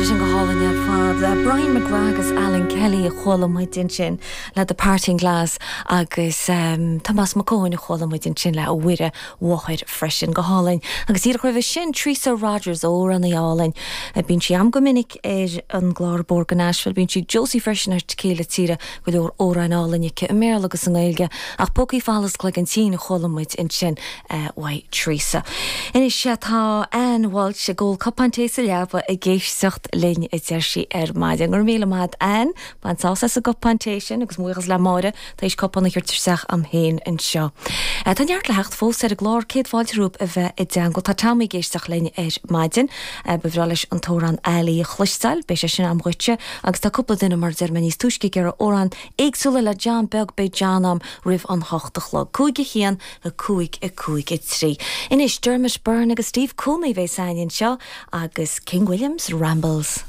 Tá sé sin go hálainn ar fad. Brian McGrath agus Alan Kelly a chuala muid ansin le The Parting Glass agus Tomás Mac Eoin a chuala muid ansin le A Mhuire Mháthair freisin. Go hálainn. Agus díreach roimhe sin, Treasa Rogers, amhránaí álainn. Bíonn sí a'm go minic ar an gclár Bóthar go Nashville. Bíonn sí ag Josie freisin ar Tequila Tíre. Go leor amhráin álainn aici i mBéarla agus i nGaeilge. Ach Pócaí Folamh 's Cloigeann Tinn a chuala muid ansin uaidh Treasa. Anois tá Ann Walsh ag ól cupán tae sa leaba ag éisteacht linn a deir sí ar maidin. Go raibh míle maith a't Ann, bain sásamh as an gcupán tae sin agus mo bhuíochas le Máire tar éis cupán a thabhairt isteach a'm féin anseo. Tá neart le theacht fós ar an gclár, céad fáilte romhaibh a bheith i dteangmháil. Tá Tommy ag éisteacht linn ar maidin. Ba bhreá leis an t-amhrán Ali a chloisteáil, beidh sé sin a'm dhuitse agus tá cúpla duine mar a deir mé níos túisce ag iarraidh amhráin éagsúla le John Beag, beidh John a'm roimh an hocht a chlog. 5, 1, 5, 5, 3. Anois, Dermot Byrne agus Steve Cooney a bheas a'inn anseo agus King William's Rambles.